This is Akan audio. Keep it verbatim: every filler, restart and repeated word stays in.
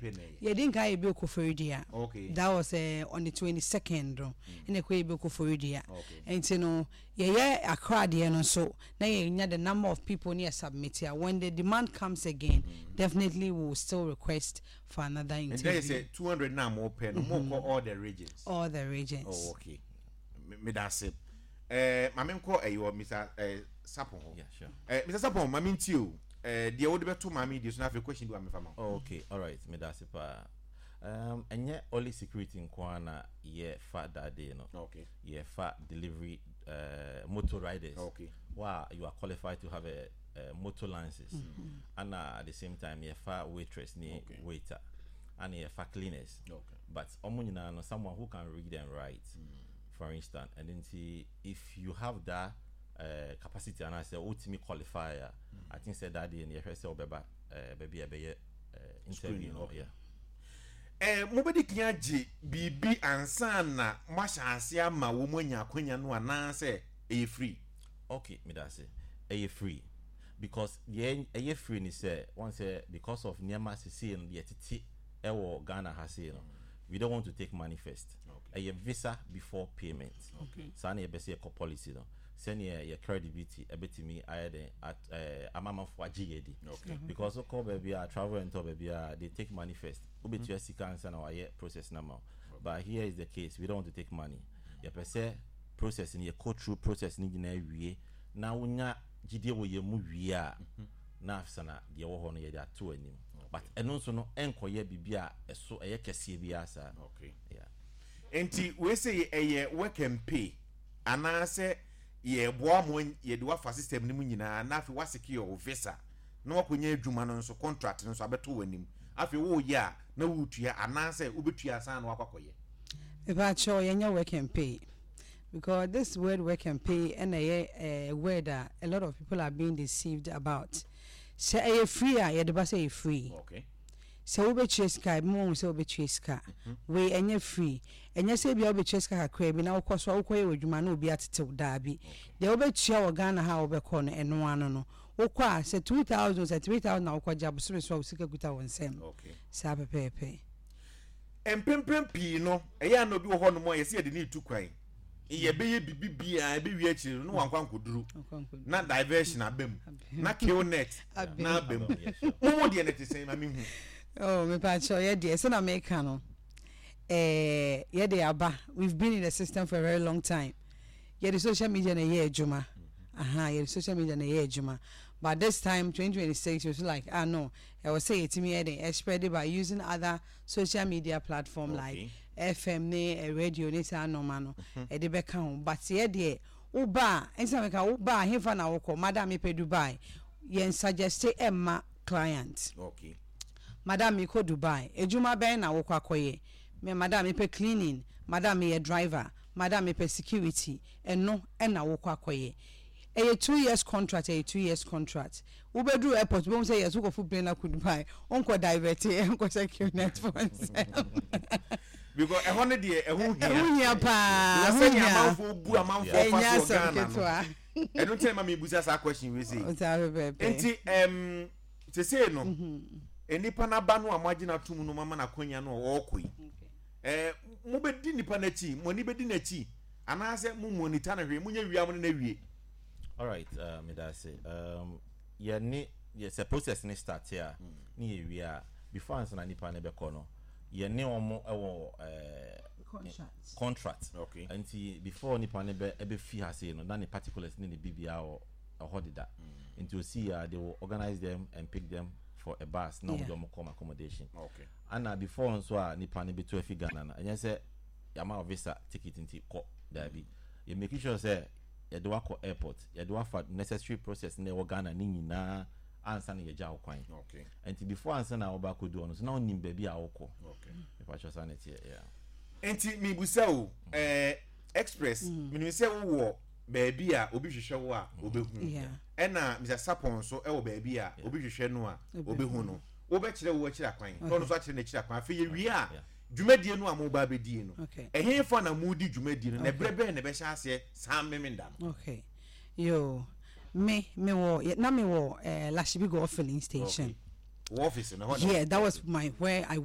pɛ na ɛyɛ? Yɛdi nka yɛ bi Koforidua. Okay. That was uh, on the twenty second no, ɛna ɛkɔ yɛ bi Koforidua. Okay. Nti no, yɛyɛ Accra deɛ no nso na yɛnya the number of people ne yɛ submit a, when the demand comes again, definitely we will still request for another And interview. there is a two hundred na mo pɛ no, mo kɔ all the regions? All the regions. Oh, okay. Me da ase. Eh, maame, nkɔ ɛyi wɔ Mister eh, Sapon hɔ. Yeah, sure. Eh, Mister Sapon, maame, ntie o. Eh, deɛ wode bɛto maame deɛ so na afei question bi wa mefa ma wo. Oh, okay, all right. Me da ase paa. Um, ɛnyɛ only security nko ara na yɛfa that day no. Okay. Yɛfa delivery uh, motor riders. Okay. Wow, you are qualified to have a, a motor license. And uh, at the same time, yɛfa waitress ne Okay. waiter. And yɛfa cleaners. Okay. But ɔmo nyinaa no, someone who can read and write, for instance. And then see if you have that uh, capacity and I say ultimate qualify, uh, I think say that day in the first ɔbɛba uh, baabi a ɛbɛyɛ uh, interview Screening, no. okay. Yeah. Eh, mobɛdi kan agye biribi ansa na moahyɛ ase ama wɔ mu anya akwanya no, anaasɛ ɛyɛ free? Okay, me da ase. Ɛyɛ free because deɛ ɛyɛ free ni sɛ wɔn sɛ because of nneɛma sisi no deɛ tete ɛwɔ Ghana ha sei no, we don't want to take money first. Okay. Ɛyɛ visa before payment. Okay. Saa na yɛbɛ sɛ yɛkɔ policy no sɛnea yɛ credibility ɛbɛtumi ayɛ den at ɛɛ amamanfo agye yɛ di. Okay. Because wokɔ baabi a travel and tour baabi a, they take money first. Wobɛtua sika ansa na wayɛ process na ma wo. But here is the case, we don't want to take money. Yɛpɛ sɛ process no, yɛkɔ through process no nyinaa wie na wonya gyidie wɔ yɛn mu wie a, na afisa na deɛ ɛwɔ hɔ no yɛde ato anim. But ɛno nso no, ɛnkɔyɛ biribi a ɛso ɛyɛ kɛseɛ biara saa. Okay. Yeah. Nti wei sɛ ɛyɛ work and pay anaasɛ yɛboa mo, yɛde wafa system no mu nyinaa na afei wasecure wo visa na wakɔnya adwuma no nso, contract no nso abɛto w'anim, afei woyɛ a na woretua, anaasɛ wobɛtua ansa na wakɔ akɔyɛ? Mepakyɛw, yɛnyɛ work and pay, because this word "work and pay" ɛna ɛyɛ uh, word a a lot of people are being deceived about. Sɛ ɛyɛ free a, yɛde ba sɛ ɛyɛ free. Okay sɛ wobɛtua sika, ebi mu wɔn sɛ wobɛtua sika. Wei ɛnyɛ free. Ɛnyɛ sɛ ebia wobɛtua sika kakra bi na wokɔ so a wokɔyɛ wɔ adwuma na obi atetew. Daabi, deɛ wobɛtua wɔ Ghana ha a wobɛkɔ no, ɛno ano no wokɔ a, sɛ two thousand, sɛ three thousand na wokɔgye abosome so a, wo sika kuta wɔ nsam. Okay saa pɛpɛɛpɛ. Mpempem pii no, ɛyɛ a na obi wɔ hɔ nom a yɛsɛ yɛde ne tu kwan, yɛbɛyɛ bibi biara, ɛbɛwie akyire no na wankɔ ankɔduru na diversion aba mu na kill net na aba mu. Yeah, sure. Momo deɛ no te sɛn? Ma mehu. Oh, mepakyɛw, yɛ deɛ, sɛ na meka no, eh, yɛde aba, we've been in the system for a very long time. Yɛde social media na ɛyɛ adwuma. Aha, yɛde social media na ɛyɛ adwuma, but this time, twenty twenty-six, it was like, ah no, ɛwɔ sɛ yɛtumi yɛ den spread it by using other social media platform Okay. like F M ne eh, radio ne saa nɔɔma no ɛde bɛka ho. But yɛ deɛ, woba a, ɛnti na meka, woba a, hefa na wokɔ? Madam, mepɛ Dubai. Yɛn suggest ɛmma client. Okay "Madam, mekɔ Dubai." "Edwuma bɛn na wokɔ akɔyɛ?" "Me, madam, mepɛ cleaning. Madam, meyɛ driver. Madam, mepɛ security." Ɛno ɛna wokɔ akɔyɛ. Ɛyɛ two years contract, ɛyɛ two years contract. Wobɛduru airport, wobɛhu sɛ yɛso kɔfo plane akɔ Dubai, wonkɔ divert, ɛnkɔ sɛ qnet for nsɛm. Because ɛhɔ no deɛ, ɛho hia. Ɛho hia paa. Because ɛho sɛnea hia. Amanfoɔ bu amanfoɔ fa Ɛnyɛ so wɔ asɛm Ghana no, ketewa. ɛno nkyɛn ma mebusa saa question wei sei. Saa pɛpɛɛpɛ. Nti ɛm sesei no, nipa n'aba no a moagye n'atom no, mama n'akwanya no a ɔrekɔ yi, ɛɛ mobɛdi nipa n'akyi, mo ani bɛdi n'akyi, anaasɛ mo monitor no hwee, monyɛ wia mo ne n'awie? All right, uh, me da ase. Um, yɛne yɛ sɛ process ne start a ne yɛ wie a, before ansa na nipa ne bɛkɔ no, yɛne wɔn wɔ ɛɛ Contract. Contract. Okay. Nti before nipa ne bɛ ɛbɛfi ha sei no, na ne particulars ne ne biribiara wɔ ɛhɔ deda. Nti osi a, they will organize them and pick them for a bus na wɔn de Yeah. wɔn kɔ accommodation. Okay ana before nso a nipa ne bɛtu afi Ghana no, ɛnyɛ sɛ yɛama wo visa ticket nti kɔ. Daabi, yɛ make sure sɛ yɛde wakɔ airport, yɛde wafa necessary process na ɛwɔ Ghana ne nyinaa ansa na yɛgya wo kwan. Okay nti before ansa na wɔba akɔdu hɔ no so, na wonim baabi a wokɔ. Okay mepakyɛ, saa ne teɛ, yeah. Nti mibusa o, ɛɛ Express, menim sɛ wowɔ baabi a obi hwehwɛ wo a obehu. Yeah. Ɛna Mister Sapon nso ɛwɔ baabi a obi hwehwɛ no a obehu no. Wobɛkyerɛ wo akyiri akwan na ɔno nso akyerɛ n'akyiri akwan. Afei yɛwie a, Yeah. dwumadie no a moba abɛdie no, Okay. ɛhe fa na modi dwumadie no, na ɛberɛ bɛn na ɛbɛhyɛ aseɛ saa Memenda no? Okay, yo, me me wɔ na me wɔ uh, Lashibi Goil filling station. Okay, wɔ office no hɔ na? Yeah, that was my where I